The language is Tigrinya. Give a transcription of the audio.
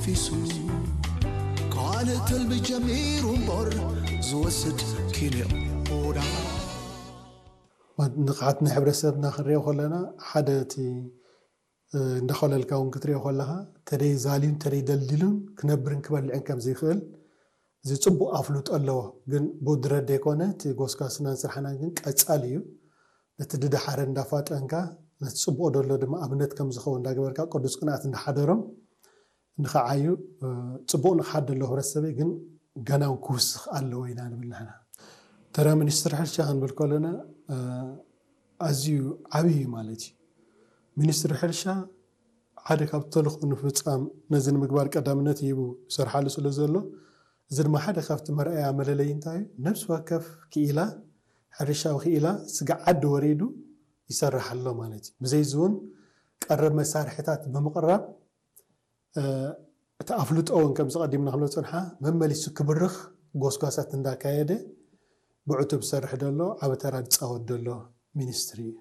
ፊሱ ካልእ ተልቢ ጀሚሩ እምበር ዝወስድ ኪንዮዳ ንቕሓት ናይ ሕብረተሰብና ክንሪኦ ከለና ሓደ እቲ እንዳኾለልካ እውን ክትሪኦ ከለኻ ተደይ ዛልዩን ተደይ ደልዲሉን ክነብርን ክበልዕን ከም ዘይክእል እዚ ፅቡቕ ኣፍልጦ ኣለዎ። ግን ብድረት ዘይኮነ እቲ ጎስጓስናን ስራሕናን ግን ቀፃሊ እዩ። ነቲ ድደሓረ እንዳፋጠንካ ነቲ ፅቡቕ ደሎ ድማ ኣብነት ከም ዝኸውን እንዳገበርካ ቅዱስ ቅንኣት እንዳሓደሮም ንኸዓዩ ፅቡቕ ንቕሓት ደሎ ሕብረተሰበይ ግን ገና እውን ክውስኽ ኣለዎ ኢና ንብል ንሕና። ተራ ሚኒስትር ሕርሻ ክንብል ከለና ኣዝዩ ዓብዪ ማለት እዩ። ሚኒስትሪ ሕርሻ ሓደ ካብ ተልእኾ ንምፍፃም ነዚ ንምግባር ቀዳምነት ሂቡ ይሰርሓሉ ስለ ዘሎ እዚ ድማ ሓደ ካብቲ መርኣያ መለለይ እንታይ እዩ? ነፍሲ ወከፍ ክኢላ ሕርሻዊ ክኢላ ስግዓ ዓዲ ወሪዱ ይሰርሕ ኣሎ ማለት እዩ። ብዘይ እዚ እውን ቀረብ መሳርሕታት ብምቕራብ እቲ ኣፍልጦ እውን ከምዚ ቀዲምና ክብሎ ፅንሓ መመሊሱ ክብርኽ ጎስጓሳት እንዳካየደ ብዕቱብ ዝሰርሕ ዘሎ ዓቢ ተራ ዝፃወት ዘሎ ሚኒስትሪ እዩ።